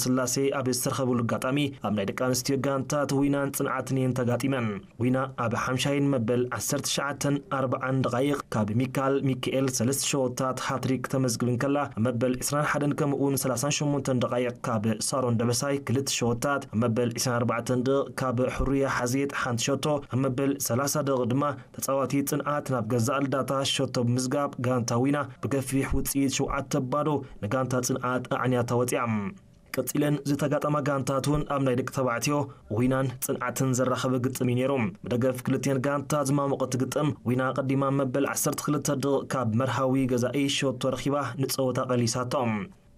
ስላሴ ኣብ ዝተረኸብሉ ኣጋጣሚ ኣብ ናይ ደቂ ኣንስትዮ ጋንታት ዊናን ጽንዓትን እየን ተጋጢመን። ዊና ኣብ ሓምሻይን መበል ዓሰርተ ትሽዓተን ኣርባዓን ደቓይቕ ካብ ሚካል ሚካኤል ሰለስተ ሸወታት ሃትሪክ ተመዝግብ እንከላ፣ ኣብ መበል ዕስራን ሓደን ከምኡውን ሰላሳን ሸሞንተን ደቓይቕ ካብ ሳሮን ደበሳይ ክልተ ሸወታት፣ ኣብ መበል ዕስራን ኣርባዕተን ደቕ ካብ ሕሩያ ሓዜት ሓንቲ ሸቶ፣ ኣብ መበል ሰላሳ ደቕ ድማ ተጻዋቲ ጽንዓት ናብ ገዛእ ልዳታ ሸቶ ብምዝጋብ ጋንታ ዊና ብገፊሕ ውጽኢት ሸውዓተ ባዶ ንጋንታ ጽንዓት ኣዕንያታ ወጺኣ። ቀጺለን ዝተጋጠማ ጋንታት እውን ኣብ ናይ ደቂ ተባዕትዮ ዊናን ጽንዓትን ዘራኸበ ግጥም እዩ ነይሩ። ብደገፍ ክልቲኤን ጋንታ ዝማሞቐት ግጥም ዊና ቀዲማ መበል ዓሰርተ ክልተ ደቕ ካብ መርሃዊ ገዛኢ ሸቶ ረኺባ ንጸወታ ቀሊሳቶም።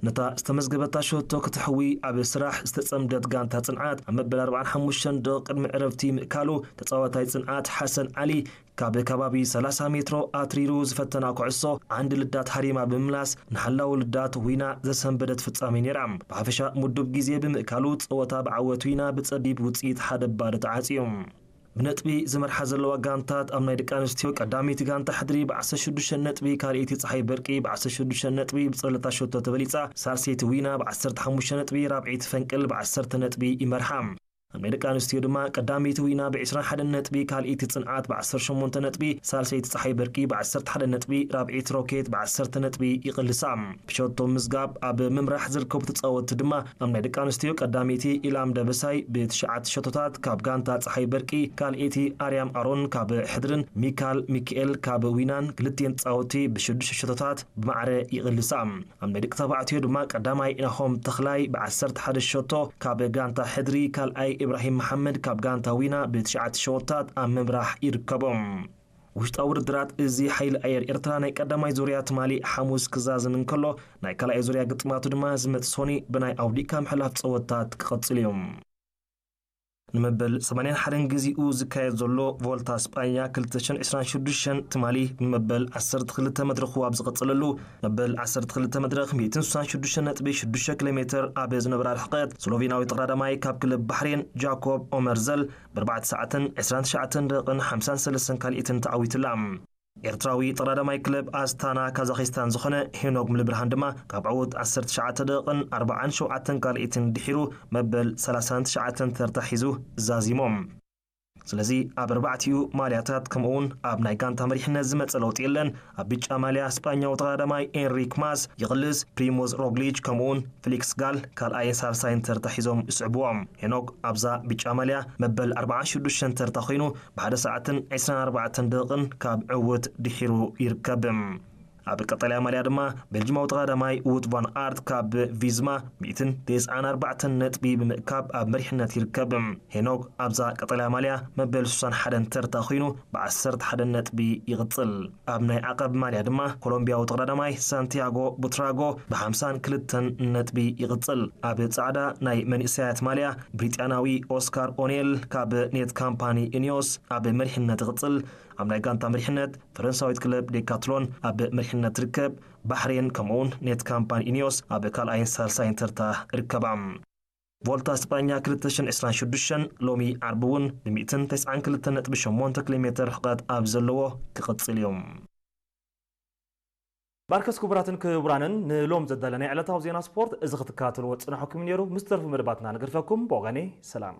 ነታ ዝተመዝገበታ ሸቶ ክትሕዊ ኣብ ስራሕ ዝተጸምደት ጋንታ ጽንዓት ኣብ መበል ኣርባዓን ሓሙሽተን ደቕ ቅድሚ ዕረፍቲ ምእካሉ ተጻዋታይ ጽንዓት ሓሰን ዓሊ ካብ ከባቢ ሰላሳ ሜትሮ ኣትሪሩ ዝፈተና ኩዕሶ ዓንዲ ልዳት ሃሪማ ብምምላስ ንሓላው ልዳት ዊና ዘሰንበደት ፍጻሜ ነይራ። ብሓፈሻ ምዱብ ግዜ ብምእካሉ ጸወታ ብዓወት ዊና ብጸቢብ ውጽኢት ሓደ ባዶ ተዓጽዩ። ብነጥቢ ዝመርሓ ዘለዋ ጋንታት ኣብ ናይ ደቂ ኣንስትዮ ቀዳመይቲ ጋንታ ሕድሪ ብ ዓሰርተ ሽዱሽተ ነጥቢ፣ ካልኣይቲ ጸሓይ በርቂ ብ ዓሰርተ ሽዱሽተ ነጥቢ ብጸለታ ሸቶ ተበሊጻ፣ ሳልሰይቲ ዊና ብ ዓሰርተ ሓሙሽተ ነጥቢ፣ ራብዐይቲ ፈንቅል ብ ዓሰርተ ነጥቢ ይመርሓ። ኣብ ናይ ደቂ ኣንስትዮ ድማ ቀዳመይቲ ዊና ብ ዕስራን ሓደን ነጥቢ፣ ካልኣይቲ ጽንዓት ብ ዓሰርተ ሸሞንተ ነጥቢ፣ ሳልሰይቲ ጸሓይ በርቂ ብ ዓሰርተ ሓደ ነጥቢ፣ ራብዐይቲ ሮኬት ብ ዓሰርተ ነጥቢ ይቕልሳ። ብሸቶ ምዝጋብ ኣብ ምምራሕ ዝርከቡ ተጻወትቲ ድማ ኣብ ናይ ደቂ ኣንስትዮ ቀዳመይቲ ኢላም ደበሳይ ብትሽዓተ ሸቶታት ካብ ጋንታ ጸሓይ በርቂ፣ ካልኣይቲ ኣርያም ኣሮን ካብ ሕድርን ሚካል ሚካኤል ካብ ዊናን ክልቲኤን ተጻወትቲ ብሽዱሽተ ሸቶታት ብማዕረ ይቕልሳ። ኣብ ናይ ደቂ ተባዕትዮ ድማ ቀዳማይ ናሆም ተኽላይ ብ ዓሰርተ ሓደ ሸቶ ካብ ጋንታ ሕድሪ፣ ካልኣይ ኢብራሂም መሓመድ ካብ ጋንታ ዊና ብ ትሽዓተ ሸወታት ኣብ ምምራሕ ይርከቦም። ውሽጣዊ ውድድራት እዚ ሓይሊ ኣየር ኤርትራ ናይ ቀዳማይ ዙርያ ትማሊ ሓሙስ ክዛዝም እንከሎ፣ ናይ ካልኣይ ዙርያ ግጥማቱ ድማ ዝመጽእ ሶኒ ብናይ ኣውዲእካ ምሕላፍ ጸወታት ክቐጽል እዩ። ንመበል ሰማንያን ሓደን ግዜኡ ዝካየድ ዘሎ ቮልታ ስጳኛ ክልተ ሽሕን ዕስራን ሽዱሽተን ትማሊ ብመበል ዓሰርተ ክልተ መድረኹ ኣብ ዝቐጸለሉ፣ መበል ዓሰርተ ክልተ መድረኽ ሚእትን ስሳን ሽዱሽተ ነጥቢ ሽዱሽተ ኪሎ ሜትር ኣብ ዝነበራ ርሕቀት፣ ስሎቬናዊ ተቐዳዳማይ ካብ ክለብ ባሕሬን ጃኮብ ኦመርዘል ብ ኣርባዕተ ሰዓትን ዕስራን ትሽዓተን ደቕን ሓምሳን ሰለስተን ካልኢትን ተዓዊትላ። ኤርትራዊ ተቐዳዳማይ ክለብ ኣስታና ካዛኺስታን ዝኾነ ሄኖክ ምልብርሃን ድማ ካብ ዕዉት ዓሰርተ ትሽዓተ ደቕን ኣርባዓን ሸውዓተን ካልኢትን ድሒሩ መበል ሰላሳን ትሽዓተን ተርታ ሒዙ ዛዚሞም። ስለዚ ኣብ ኣርባዕቲኡ ማልያታት ከምኡውን ኣብ ናይ ጋንታ መሪሕነት ዝመጸ ለውጢ የለን። ኣብ ብጫ ማልያ ስጳኛዊ ተቐዳዳማይ ኤንሪክ ማስ ይቕልስ፣ ፕሪሞዝ ሮግሊች ከምኡውን ፊሊክስ ጋል ካልኣይን ሳልሳይን ተርታ ሒዞም ይስዕብዎም። ሄኖክ ኣብዛ ብጫ ማልያ መበል ኣርባዓን ሽዱሽተን ተርታ ኮይኑ ብሓደ ሰዓትን ዕስራን ኣርባዕተን ደቕን ካብ ዕውት ድሒሩ ይርከብ። ኣብ ቀጠልያ ማልያ ድማ ቤልጅማዊ ተቐዳዳማይ ውት ቫን ኣርት ካብ ቪዝማ ሚእትን ተስዓን ኣርባዕተን ነጥቢ ብምእካብ ኣብ መሪሕነት ይርከብ። ሄኖክ ኣብዛ ቀጠልያ ማልያ መበል ስሳን ሓደን ተርታ ኮይኑ ብ ዓሰርተ ሓደ ነጥቢ ይቕጽል። ኣብ ናይ ዓቐብ ማልያ ድማ ኮሎምቢያዊ ተቐዳዳማይ ሳንቲያጎ ቡትራጎ ብ ሓምሳን ክልተን ነጥቢ ይቕጽል። ኣብ ጻዕዳ ናይ መንእሰያት ማልያ ብሪጣንያዊ ኦስካር ኦኔል ካብ ኔት ካምፓኒ ኢኒዮስ ኣብ መሪሕነት ይቕጽል። ኣብ ናይ ጋንታ መሪሕነት ፈረንሳዊት ክለብ ዴካትሎን ኣብ መሪሕነት ትርከብ። ባሕሬን ከምኡውን ኔት ካምፓኒ ኢኒዮስ ኣብ ካልኣይን ሳልሳይን ተርታ ይርከባ። ቮልታ ስጳኛ ክልተ ሽሕን ዕስራን ሽዱሽተን ሎሚ ዓርቢ እውን ብ ሚእትን ተስዓን ክልተን ነጥቢ ሸሞንተ ኪሎ ሜትር ርሕቀት ኣብ ዘለዎ ክቕጽል እዩ። ባርከስ ክቡራትን ክቡራንን ንሎም ዘዳለናይ ዕለታዊ ዜና ስፖርት እዚ ክትከታተልዎ ዝጸናሕኩም ነይሩ። ምስ ተርፉ መደባትና ንገድፈኩም። ብወገነይ ሰላም።